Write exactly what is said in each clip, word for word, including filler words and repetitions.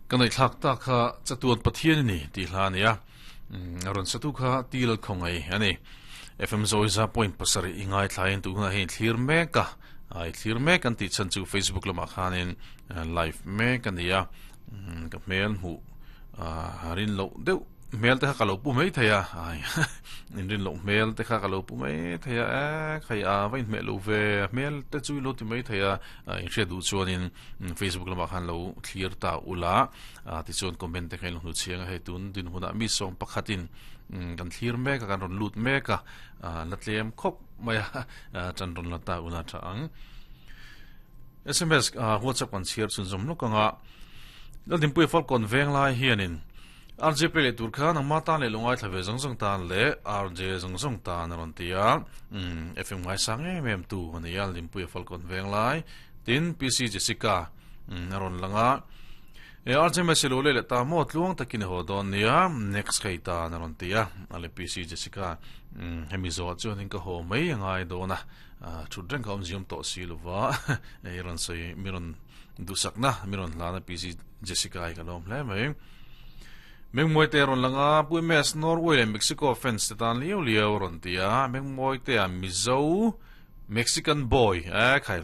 Kan nei thlak ta kha chatuan Pathian ni ti hla ania ron satu kha til khongai ani F M Zoiza point pasari ingai thlain tu na hein thlir meka ai thlir mek an ti chan chu Facebook lama khanin live mek ania ka mail hu harin lo deuh mail te kha ka lo pu mai theia ai in rin lo mail te kha ka lo pu mai theia e khai a vain me lo ve mail te chui lo ti mai theia in hre du chuanin Facebook lama khan lo thlir ta ula ti chuan comment te khain lo hnu chiang hei tun din huna mi song pakhatin kan thlir mek kan ron lut mek a la tlem khop mai chan ron la ta una tha ang S M S WhatsApp kan chiar chun zom lokanga la dimpui fal kon veng lai hianin R J P le tur khan ang mata le lungai thlave zong zong tan le R J zong zong tan ron tia F M ngai sang em em tu ani al dimpui fal kon veng lai tin P C Jessica ron langa e R J Meselo le ta mo tluang takin ho don nia next khai ta na ron tia ale P C Jessica hemi zo chu ning ka ho mai angai do na chudreng ka om zium to si lova e ron sei miron dusakna miron la na P C Jessica ai ka lom hle mai Meng moi te ron langa pu M S Norway le Mexico fans te tan liu liu ron tia meng moi te a Mizo Mexican boy e khai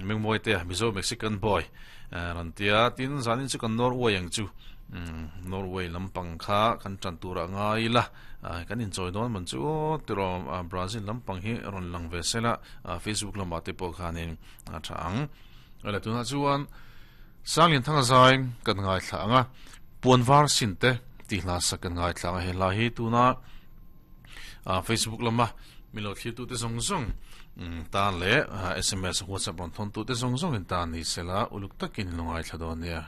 meng moi te a Mizo Mexican boy ron tia tin zanin chu kan Norway ang chu Norway lampang kha kan tran tura ngai la kan in choi don man chu tiro Brazil lampang hi ron lang ve sela Facebook lama te pawh khanin a tha ang ala tuna chuan sanglin thanga zai kan ngai thla anga puanvar sinte ti hla sak kan ngai thla he la hi tuna Facebook lama milo thlir tu te zong zong tan le S M S WhatsApp ron thon tu te zong zong in tan ni sela uluk takin longai thla don nia.